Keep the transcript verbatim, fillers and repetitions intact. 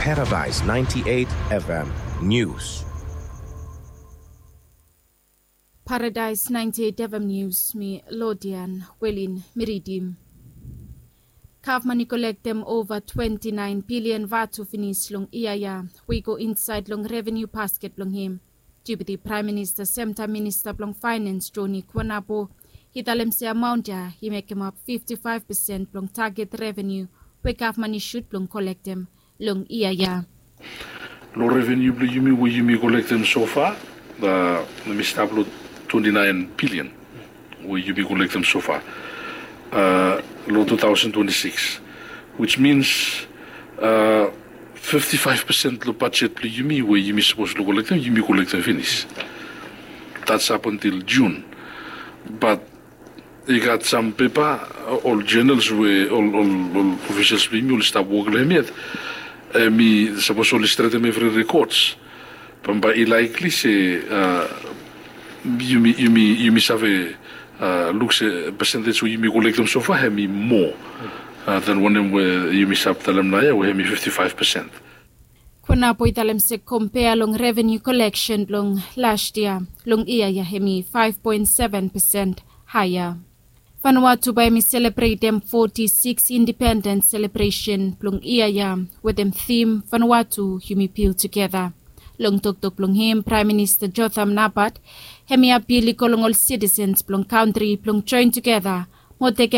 Paradise ninety-eight F M News. Paradise ninety-eight F M News, mi Lodian Welin mi ridim. Gavman i kolektem ova twenti naen bilian vatu finis long yia ya we i go insaed long revenu basket blong hem. Deputi Praem Minista semtaem Minista blong Faenans Joni Kuanapo i talem se amaon ya i mekemap fifti faef pesen blong taget revenu we gavman i sut blong kolektem long yia ya. Long revenu blong yumi we yumi kolektem sofa, mi stap long twenti naen bilian we yumi kolektem sofa long tu taosen twenti sikis, wis mins fifti faef pesen long bajet blong yumi we yumi sapos long kolektem yumi kolektem finis. Dats ap antil Jun. Bat i gat sam pepa, ol jenels we ol ofisels blong yumi oli stap wok long hem yet, hem i sapos oli stretem evri rekods, bambae i laikli se yumi save luk se pesentej we yumi kolektem sofa hem i moa dan wanem we yumi save talem naoia we hem i fifti faef pesen. Kuanapo i talem se kompea long revenu koleksen blong las yia long yia ya hem i faef poen seven pesen haea. Vanuatu bae hem i selebretem foti sikis indipendens selebresen blong yia ya wetem tim Vanuatu yumi bil tugeta. Long toktok blong hem Praem Minista Jotham Napat hem i apil i go long ol sitisens blong kantri blong joen tugeta mo tekem